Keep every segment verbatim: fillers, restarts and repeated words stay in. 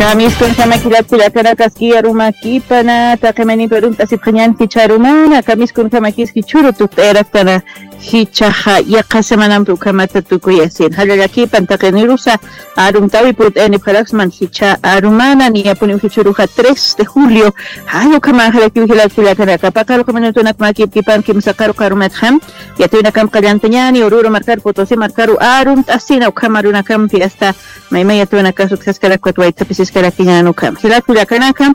Kamiskunjama jilat kullakanakaski arumakipana, taqi mayninpi arumt'asipxañän jichha arumana, kamiskunjamakiski churu tukt'ayaraktana jichhaxa, yaqha semanampi ukhamata tukuyasin. Jallallakipan taqinirusa arumtäwi purt'ayanipxaraksman jichha arumana, niyapuniw jichhüruxa tres de julio, jall ukhamanxarakiw jilat kullakanaka. Paqaru minutunak makipkipan kimsa qarux arumatxa, yatiyunakamp qallantañäni, Oruro markaru, Potosí markaru arumt'asina, ukham arunakampi hasta maymay yatiyunakas utjaskarak ukat waytapisiskarakiñän ukham. Jilat kullakanaka,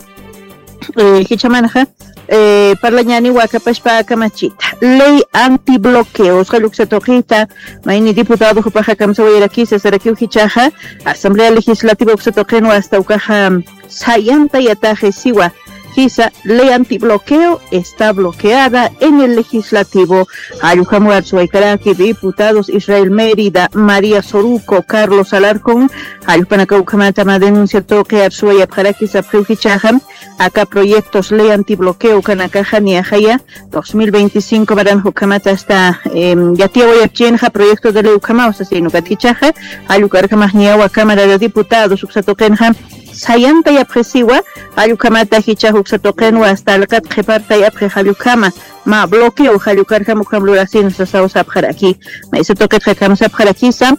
eh, jichhamanxa, eh, parlañäniwa akapashpa kamachita. Ley antibloqueo, usqhall uksa tuqita, mayni diputado jupaxa kamsawayarakisa sarakiw jichhaxa, Asamblea Legislativa uksa tuqinwa hasta ukaxa, sayantayataxi siwa, jisa, ley antibloqueo está bloqueada en el legislativo. Jall ukham arsuwaykaraki diputados Israel Mérida, María Soruco, Carlos Alarcón, jall jupanakaw ukhamata mä denuncia tuqi arsuwayapxaraki sapxiw jichhaxa, aka proyectos ley antibloqueo ukanakaxa niyaxaya, dos mil veinticinco maranx ukhamata hasta, em, yatiyawayapchinxa proyecto de ley ukhamaw sasin ukat jichhaxa, jall ukarjamax niyawa Cámara de Diputados uksa tuqinxa, sayantayapxi siwa, jall ukhamata jichhax uksa tuqinwa hasta alqat qhipartayapxi jall ukhama, mä bloqueo jall ukarjam ukham lurasin sasaw sapxaraki. Maysa tuqitxa kamsapxarakisa,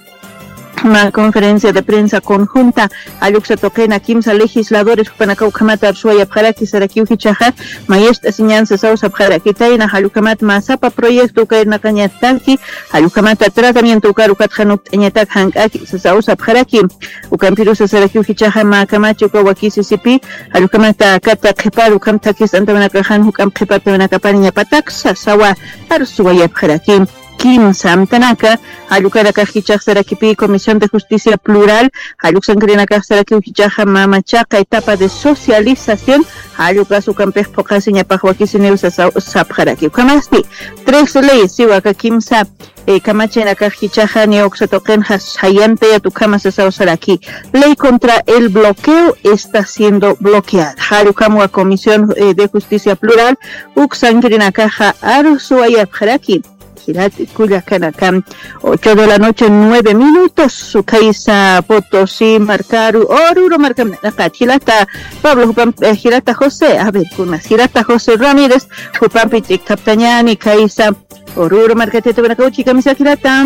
mä conferencia de prensa conjunta, jall uksa tuqina kimsa legisladores jupanakaw ukhamata arsuwayapxaraki sarakiw jichhaxa, mayist'asiñän sasaw sapxarakitayna, jall ukhamat mä sapa proyecto uka irnaqañataki, jall ukhamata tratamiento ukar ukatxa nukt'añatak jank'aki sasaw sapxaraki. Ukampirusa sarakiw jichhaxa mä kamachi uka wakisisipi, jall ukhamata kata qhipar ukham thakist'antawanakaxan juk'amp qhipartawanakapaniñapatak sasawa arsuwayapxaraki. Kimsa amtanaka, jall ukanakax jichhax sarakipi Comisión de Justicia Plural, jall uksankirinakax sarakiw jichhaxa mä machaqa etapa de socialización, jall ukas ukampix phuqhasiñapax wakisiniw sasaw sapxaraki. Ukhamasti, tres leyes siwa aka kimsa, eh, kamachinakax jichhaxa niya uksa tuqinxa sayantayat ukhama sasaw saraki. Ley contra el bloqueo está siendo bloqueada. Jall ukhamwa Comisión, eh, de Justicia Plural, uksankirinakaxa arsuwayapxaraki. Jilat kullakanaka, ocho de la noche, nueve minutos, ukhaysa Potosí markaru, Oruro markam naqat, jilata Pablo, jupam, eh, jilata José, a ver, kunas, jilata José Ramírez, jupampi ch'ikthaptañäni, khaysa Oruro markatita, buena kauchi, kamisa jilata.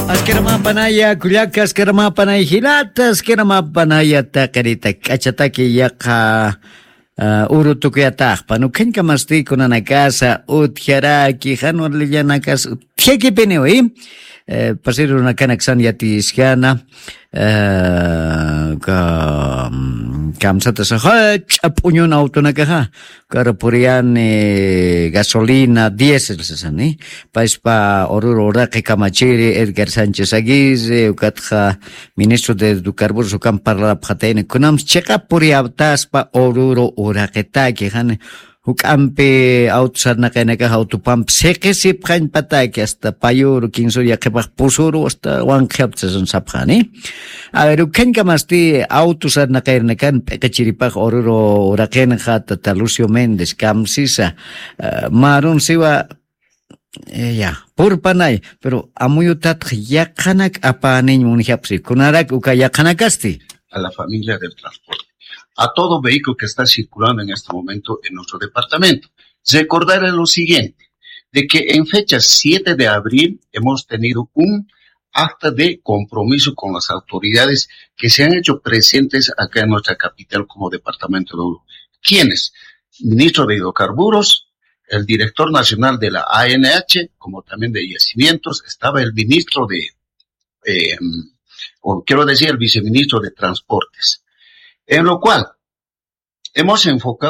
Askiramapanaya, kullaka, askiramapanaya, jilata, askiramapanaya, taqirita, k'achataki, yaqha, ah, uru tukuyataxpan, ukhañkamasti kunanakasa utjaraki, jan warlillanakasa utjakipiniwi, eh, pasir urunakanaksan yatiskana, eh, ka-, mm, kamsatasa jach'a p'uñun autonakaxa, ukar puriyani gasolina, diésel sasani, payspa Oruro uraqi kamachiri Edgar Sánchez Aguirre, ukatxa ministro de hidrocarburos ukan parlarapxatayni, kunamsa chiqa puriyaptaspa Oruro uraqitaki, jani juk'ampi auto sarnaqaynakax autopampi siqisipxañpataki, hasta payuru, kinsuru, yaqhipax pusuru, hasta wanqhiyapta sasan sapxani. A ver, ukhañkamasti auto sarnaqayrinakan p'iqichiripax Oruro uraqinxa, tata Lucio Méndez, kamsisa, eh, marun siwa, eh, ya, purpanay, pero amuyutatx yaqhanak apäniñ munjapxi, kunarak uka yaqhanakasti. A la familia del transporte, a todo vehículo que está circulando en este momento en nuestro departamento. Recordarle lo siguiente, de que en fecha siete de abril hemos tenido un acta de compromiso con las autoridades que se han hecho presentes acá en nuestra capital como departamento de Oruro. ¿Quiénes? Ministro de Hidrocarburos, el director nacional de la A N H, como también de Yacimientos, estaba el ministro de, eh, o quiero decir, el viceministro de Transportes. En lo cual hemos enfocado